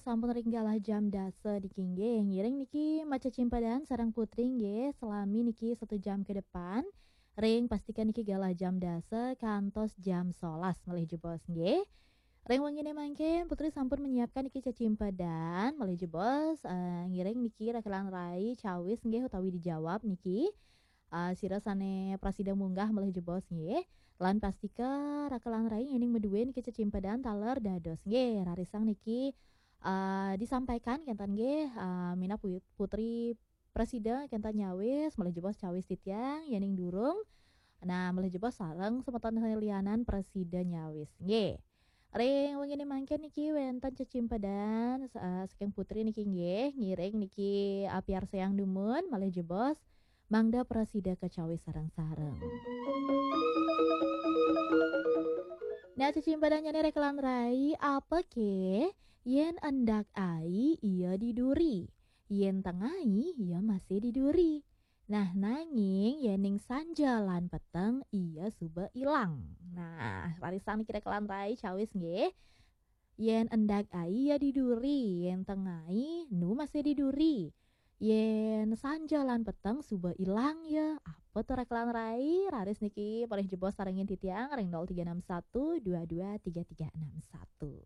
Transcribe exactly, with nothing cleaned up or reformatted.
Sampun ring galah jam dasa niki nggih. Ngiring niki macecimpedan sareng Putri nggih, selami niki satu jam ke depan. Ring pastikan niki galah jam dasa kantos jam solas malih jebos nggih. Ring wengine mangkin Putri sampun menyiapkan niki cecimpedan malih jebos, eh, ngiring niki rekelan rai cawis nggih utawi dijawab niki. Eh, sira sane prasida munggah malih jebos nggih. Lan pastika rekelan rai ngening madue niki cecimpedan taler dados nggih. Rarisang niki, eh, disampaikan kenten nggih, eh, minab pu-, Putri prasida kenten nyawis malih jebos cawis titiang yening durung. Nah, malih jebos sareng semeton lianan prasida nyawis nggih. Ring wengine mangkin niki wenten cecimpedan, eh, saking Putri niki nggih, ngiring niki, eh, piarsayang dumun malih jebos mangda prasida kacawis sareng-sareng. Nah, cecimpedannyane rekelan rai, apa ke? Yen endak ai, iya diduri. Yen tengai, iya masih diduri. Nah, nanging yening sanja lan peteng, iya suba ilang. Nah, rarisang niki rekelan rai cawis nggih. Yen endak ai iya diduri, yen tengai nu masih diduri. Yen sanja lan peteng suba ilang ya, apa to rekelan rai? Raris niki malih jebos sarengin titiang ring nol tiga enam satu dua dua tiga tiga enam satu.